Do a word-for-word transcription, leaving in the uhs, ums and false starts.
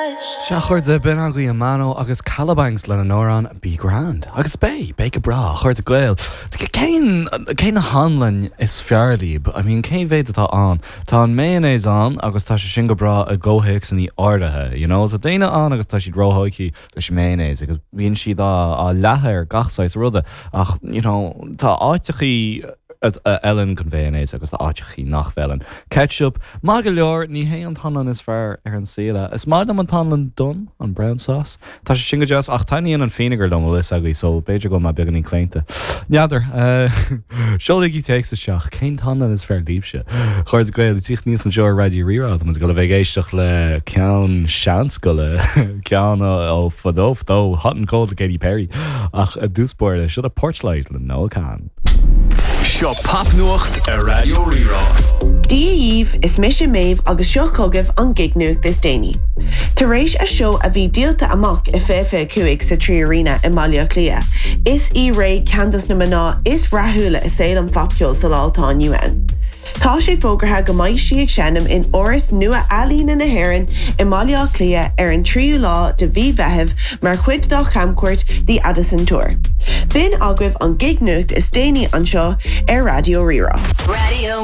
Sea, a chairde, b'in agaibh Amano agus Kalabangs lena n-amhrán Be Grand. Agus beidh, beidh go breá, a chairde Gael. Cén cén anlann is fearr libh, I mean cé mhéad atá ann. Tá an mayonnaise ann agus tá sé sin go breá i gcomhthéacsanna áirithe, you know, Tá daoine ann agus tá siad róthógtha leis mayonnaise agus bíonn siad á á leathadh ar gach saghas ruda ach you know, tá áiteachaí a fheileann don mhayonnaise agus tá áiteachaí nach bhfeileann. Ketchup, maith go leor ní hé an t-anlann is fearr ar an saol é. Is maith liom an t-anlann donn an brown sauce. Tá sé sin go deas ach taitníonn an vinegar liom is agaí so b'fhéidir go mbeidh beagáinín claonta. N'fheadar seolaigí téacs isteach cén t-anlann is fearr libhse. Chairde Gael tíocht níos anseo ar Raidió Rí-Rá Tá go le bheith éisteach le ceann seanscoile ceann ó fadó fadó Hot and Cold le Katy Perry ach i dtús báire seo Porchlight le Noah Kahan. Seo popnuacht ar Raidió Rí-Rá. Dia dhaoibh is mise Méabh agus seo chugaibh an gig-nuacht is déanaí. Tar éis a seó a bhí díolta amach i fiche cúig sa Trí Arena i mBaile Átha Cliath. Is í Raye ceann de na mná is rathúla i saol an phopcheoil sa lá atá inniu ann. Tá sé fógartha go mbeidh sí ag seinm in Áras Nua-Ealaíne na hÉireann i mBaile Átha Cliath ar an tríú lá de mhí Mheithimh mar chuid dá camchuairt The Addison Tour. B'in agaibh an gig-nuacht is déanaí anseo ar Raidió Rí-Rá. Radio